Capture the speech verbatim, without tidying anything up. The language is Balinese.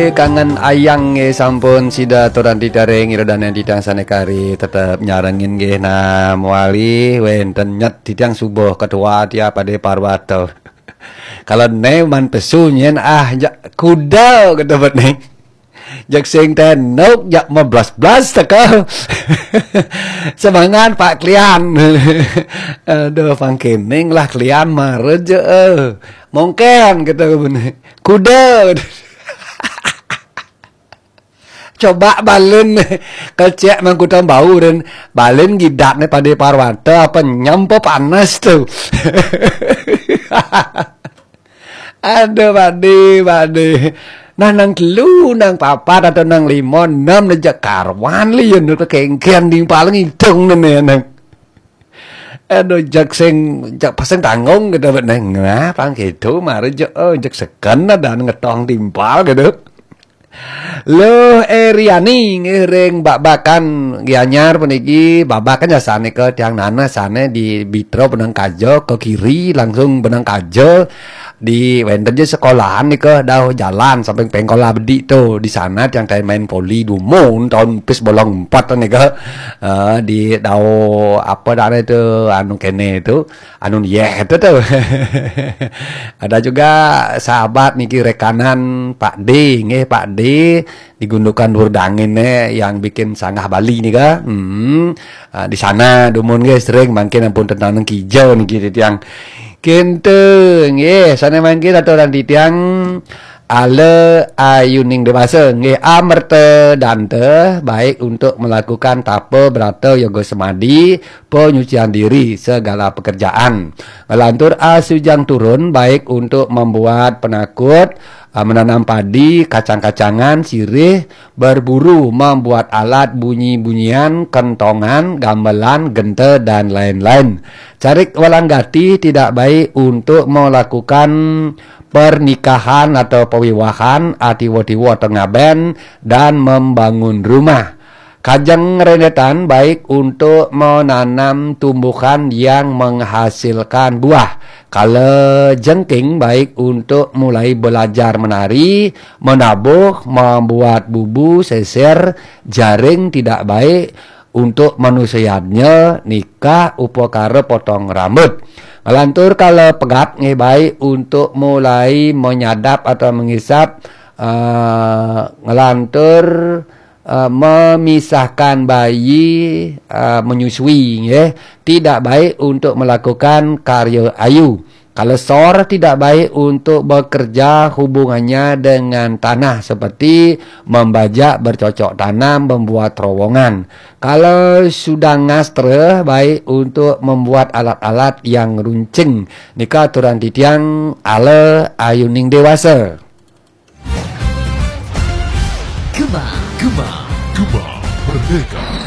Kangen ayang nggih sampun sida aturan titiang ring ida dané titiang sané kari tetep nyarengin nggih nah mawali wénten nyet titiang subuh ketua tiap Ade Parwata. Kalau né man pesu nyén ah jak kuda kata bet né. Jak sing tenuk jak meblas-blas teka. Semangat Pak Klian. Aduh pangkining lah Klian mara je. Eh. Mongken kata bené. Kuda. Coba balen kecek mangkutan bau dan balen gidatné pada parwata apa nyampa panas tu. Aduh pade pade. Nah nang telu nang papat atau nang lima enam nejak karwan li ya nu kengken di paling hitung nene nang. Aduh jak sing jak pasang tanggung gitu bet neng. Nah pang gitu mari jak oh, jak seken ada ngetong timpal gitu. Luh Eriani ngiring babakan Gianyar puniki babakan jasane ke tiang nana sane di Bitro Penang Kaja ke kiri langsung Penang Kaja di wénten je sekolahan nika dauh jalan samping pengkola bedik tu di sana tiang tai main voli dumun tahun pis bolong empat nika uh, di dauh apa dah tu anu kene tu anu yeh tu tu ada juga sahabat niki rekanan Pak D nggih Pak D di gundukan Dangin eh yang bikin sanggah Bali nika hmm uh, di sana dumun nggih sering mangkin ampun tentang nang kijau niki tiang Kintu nggih sane mangkin aturan titiang ala ayuning dewasa nggih amerta danta baik untuk melakukan tapa brata yoga semadi penyucian diri segala pekerjaan ngelantur asujang turun baik untuk membuat penakut uh, menanam padi kacang-kacangan sirih berburu membuat alat bunyi-bunyian kentongan gamelan genta dan lain-lain Carik walanggati tidak baik untuk melakukan pernikahan atau pewiwahan atiwa-tiwa tengaben dan membangun rumah. Kajeng rendetan baik untuk menanam tumbuhan yang menghasilkan buah. Kala jengking baik untuk mulai belajar menari, menabuh, membuat bubu, seser, jaring tidak baik untuk manusianya nikah upakara potong rambut. Ngelantur kala pegat nggih baik untuk mulai menyadap atau mengisap uh, ngelantur uh, memisahkan bayi uh, menyusui nggih tidak baik untuk melakukan karya ayu. Kalau sor tidak baik untuk bekerja hubungannya dengan tanah seperti membajak bercocok tanam, membuat terowongan. Kalau sudah ngastra baik untuk membuat alat-alat yang runcing. Nika aturan titiang ala ayuning dewasa. Gema, gema, gema merdeka.